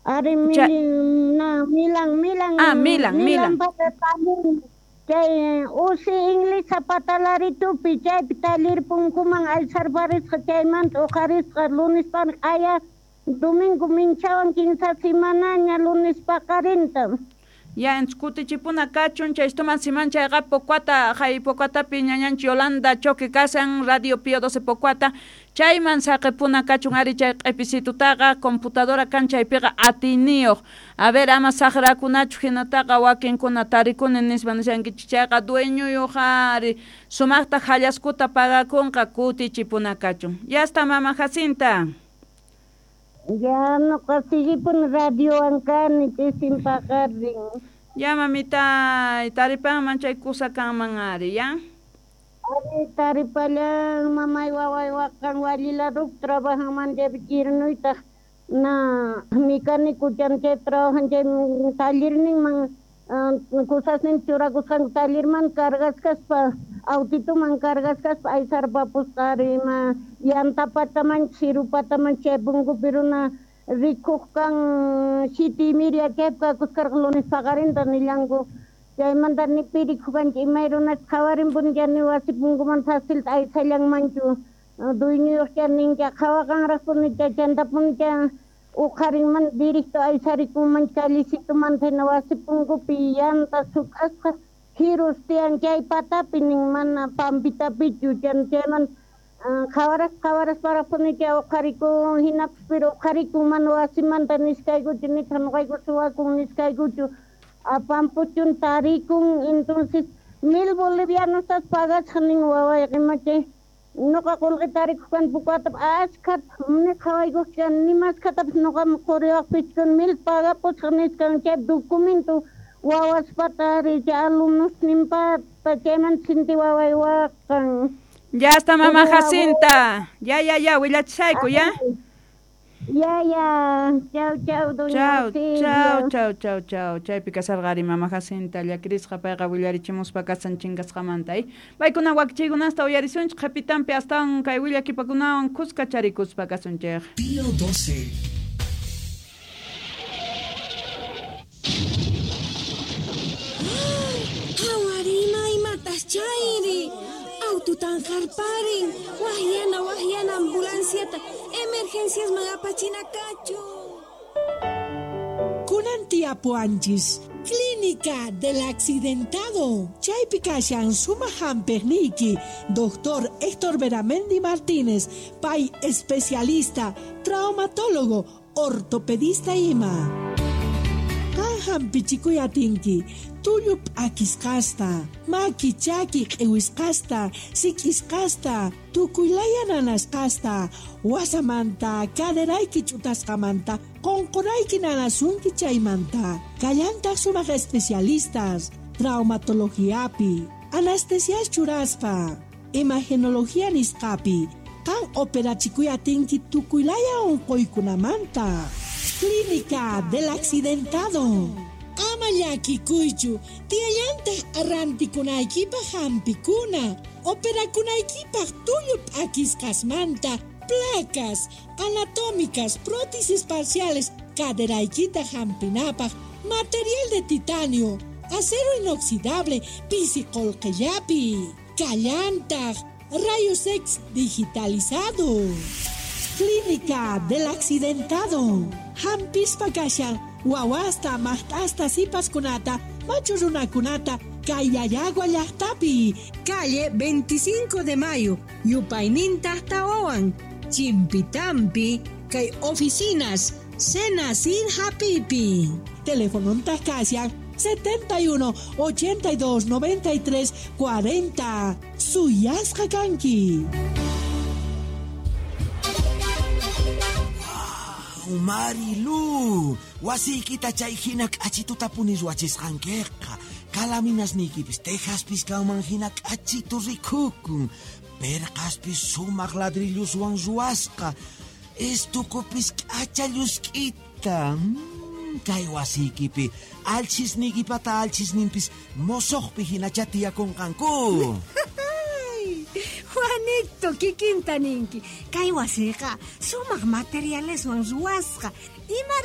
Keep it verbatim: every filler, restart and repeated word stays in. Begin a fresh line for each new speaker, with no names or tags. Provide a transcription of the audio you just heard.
Ari Milan, Milan, Milan.
Ah, Milan, Milan.
Chay usi inglesa patalaritupi chaypi taller punkuman aysarparisqa chaymanta uqarisqa lunes aya domingo minchawan kinsa semanaña lunes paqarinta.
Ya en kutichipuna kachun chaystuman siman chayqa Pocuata hay Pocuatapi ñañanchik Yolanda Choque kasan Radio Pío doce Pocuata chayman saqipuna kachun ari chay q'ipisitutaqa computadora kan chaypiqa atiniyuq. A ver ama saqrakunachu hinataqa wakinkuna tarikuni nispa nishankichik chayqa dueñoyuq ari sumaqta hallaskuta pagakunqa kutichipuna kachun. Ya está mama Jacinta.
Ya noqa sillipun radiowan kani ch'isin paqarin.
Ya mamita, taripanman chay kusa kanman ari, ya?
Ari taripallan mamay waway waqan walilarup trabajanman chay kirnuytaq na mecánico chan chay trabajan chay tallerninman kusasnin churakusqanku tallerman cargasqaspa autituman cargasqaspa aysarpapusqa ari ima yantapataman chirupataman chay punkupi runa rikuq kan siete y media chaypi kakuskarqa lunes paqarinta nillanku chaymanta ni pirikuq kanchik imay runas qhawarinpuni ni wasi punkuman facilta aysallanmanchu dueñoyuq chay nincha qhawaqanraqpuni chantapuni chay uqharinman directo aysarikunman callecitoman hina wasi punkupi yanta suk'asqa jirus tiyan chay patapi nin mana pampitapichu chayman qhawaras qhawarasparaqpuni chay uqharikun hinapis pero uqharikun mana wasimanta nisqaykuchu nitaq nuqayku suwakun nisqaykuchu apampuchun tarikun entonces mil bolivianos pagasqa nin wawayqa ima chay noqa qullqi tarikuq kani Pocuatapi ashkhata ni qhawaykuq kani ni mashkhatapis nuqaman quriwaqpichu mil pagapusqa nisqan chay documento wawaspata ari chay alumnosninpata chaymanta sinti waway waqan.
Ya está mamá Jacinta. Ya, ya, ya, willachishayku, ya.
Ya, ya. Chau, chau, doña
Chau, chau, chau, chau, chau. Chaypi kasarqa ari mama Jacinta llakirisqa payqa willarichimuspa kasan chinkasqamanta. Eh? Paykuna wakichiykunasta uyarisunchik qhipitanpi astawan kay willakipakunawan kuska charikuspa kasunchik.
Pío doce.
Hawarima imatas chayri. Aututan qarparin. Wahyana, wahyana ambulanciata. Emergencias magapachina kachu.
Kunan tiapuanchis. Clínica del Accidentado. Chaypi kashan suma hampiqniyki. Doctor Héctor Beramendi Martínez, pay especialista, traumatólogo, ortopedista ima. Qan hampichikuy atinki. Tullu p'akisqasta, maki chaki q'iwisqasta, sik'isqasta, tukuylaya nanasqasta, wasamanta, caderayki ch'utasqamanta, qunqurayki nanasunki chaymanta. Kallantaq sumaq especialistas, traumatologiapi, anestesias churaspa, imagenología nisqapi, qan operachikuy atinki tukuylaya unquykunamanta. Clínica del Accidentado. Ama llakikuychu, tiyallantaq rantikunaykipaq hampikuna, operakunaykipaq tullu p'akisqasmanta, placas anatómicas, prótesis parciales, caderaykita hampinapaq, material de titanio, acero inoxidable, pisi qullqillapi, kallantaq, rayos X digitalizado. Clínica del Accidentado. Hampispa kashan wawasta, maqt'asta, sipaskunata, machu runakunata, kay Llallagua llaqtapi.
Calle veinticinco de Mayo, Yupayninta Tawawan, Chimpitampi, kay oficinas, Senacid Hapipi.
Teléfono kashan setenta y uno, ochenta y dos, noventa y tres, cuarenta. Suyasqa kanki.
Marilu, wasiykita chay hina k'achituta punis wachisqankiqa. Kalaminasniykipis tejaspis kanman hina k'achitu rikukun. Perqaspis sumaq ladrilluswan ruwasqa. Estukupis k'acha llusk'ita. Mm, kay wasiykipi alchisniykipata alchisninpis mosoqpi hinacha tiyakunqanku.
Juanito, kikinta ninki. Kay wasiqa sumaq materialeswan ruwasqa. Ima